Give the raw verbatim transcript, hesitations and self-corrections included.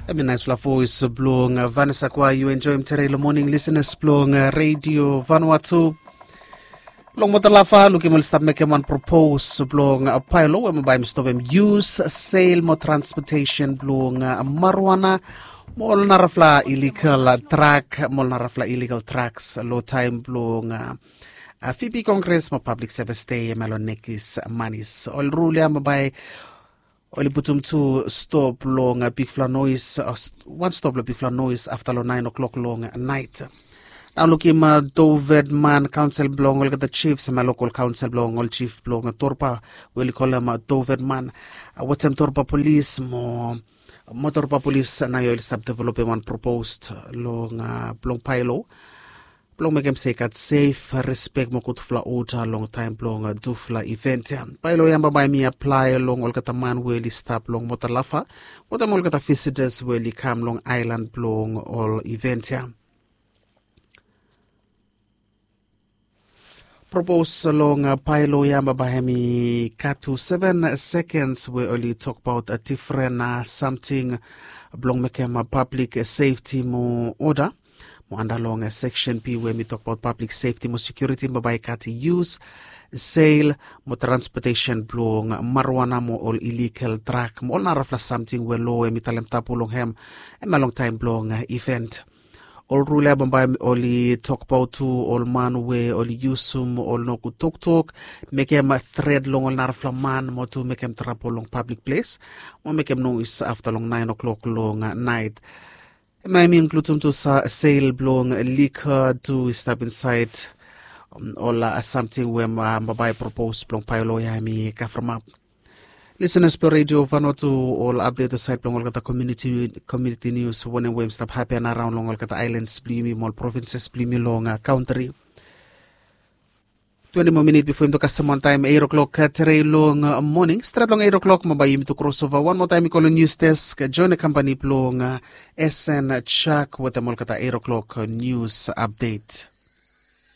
Em i naispela voes bilong Vanessa Kwa yu enjoim tere long moning lisenas bilong Radio Vanuatu. Long Motalafa lukim ol i stap mekim wan propos bilong paelo we bai mi stopim yus, sel mo transportation bilong marijuana mo ol narafla illegal drug mo ol narafla illegal drugs long taim bilong VP Congress mo Public Service Day em long nekis manis. Ol rul ya bai oli putum tu stop long bigfala nois, wan stop long bigfala nois afta long nain o'clock long nait. Nau lukim dovet man kaunsil bilong olgeta chiefs em lokal kaunsil bilong ol chief bilong torpa we oli kolem dovet man, wetem torpa polis mo motorpa polis na yu oli stap developim wan proposed long bilong paelo bilong mekim se i gat sef, respek mo gutfala oda long taim bilong tufala event ya. Bai lo yamba bai mi aplai long olgeta man we oli stap long Motalafa wetem olgeta visitas we oli kam long ailan bilong ol event ya. Propos long paelo ya bai em i gat tu seven seconds we oli tokbaot difren samting bilong mekim public safety mo oda. Mo anda long section B we mi tokbaot public safety mo security bai bai i gat use, sel mo transportation bilong marijuana mo ol illegal drug mo ol narafla samting we lo em i talem tapu long em em long taim bilong event. Ol rul ya bambae oli tokbaot tu ol man we oli yusum ol nogut toktok mekim tret long ol narafla man mo tu mekim trabol long public ples mo mekim nois afta long nain o'clock long nait. Em i mi inkludim tu sel bilong lika tu i stap insait ol samting we bambae propos bilong paelo ya em i kavremap. Lisenas bilong redio Vanuatu, ol apdet sait bilong olgeta komuniti nius wanem we em stap hapen araun long olgeta ailans bilong yumi mo ol provinses bilong yumi long kantri. Twenti moa minit bifo em to kasem wantaim eiro klok katere long moning stret long eiro klok ma bai yumi to krosova wan moa taim i kolong nius desk join kampani bilong sn chak wetem olgeta eiro klok nius apdet.